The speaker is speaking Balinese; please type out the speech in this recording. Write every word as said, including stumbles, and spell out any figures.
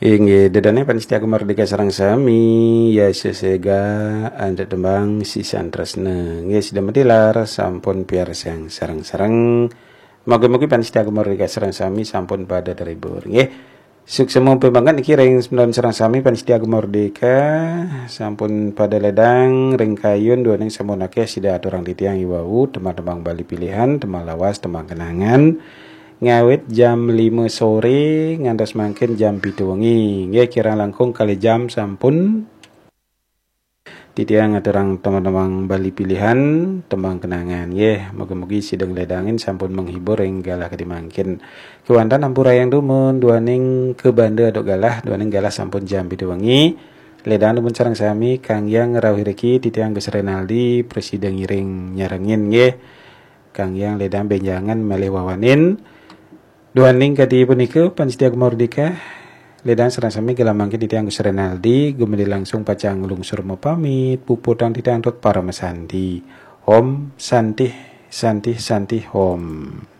Inggih, ida dané pamiarsa Gema Merdeka sareng sami, ya sesega antuk tembang sisan tresna. Inggih, sida matilar sampun piarsang sareng-sareng. Mugi-mugi pamiarsa Gema Merdeka sareng sami sampun pada terhibur. Inggih. Suksma banget niki ring semeton sareng sami pamiarsa Gema Merdeka sampun pada ledang ring kayun duaning sampun akéh sida aturang titiang iwau tembang-tembang Bali pilihan, tembang lawas, tembang kenangan. Ngawit jam lima sore ngantos mangkin jam pitu wengi. Nggih, kirang langkung kalih jam sampun titiang ngaturang tembang-tembang Bali pilihan, tembang kenangan. Nggih, mugi-mugi sida ngledangin sampun menghibur ring galah kadi mangkin. Kéwanten ampurayang dumun duaning kabanda antuk galah, duaning galah sampun jam pitu wengi. Ledang dumun sareng sami, Kang Yang ngrauhin riki, titiang Gus Renaldi prasida ngiring nyarengin nggih. Kang Yang ledang bénjangan malih wawanin. Duaning kadi punika, pamiarsa Gema Merdeka, ledang sareng sami galah mangkin titiang Gus Renaldi, gumanti langsung pacang nglungsur mapamit, puputang titiang antuk paramasanti. Om Santih, Santih, Santih, Om.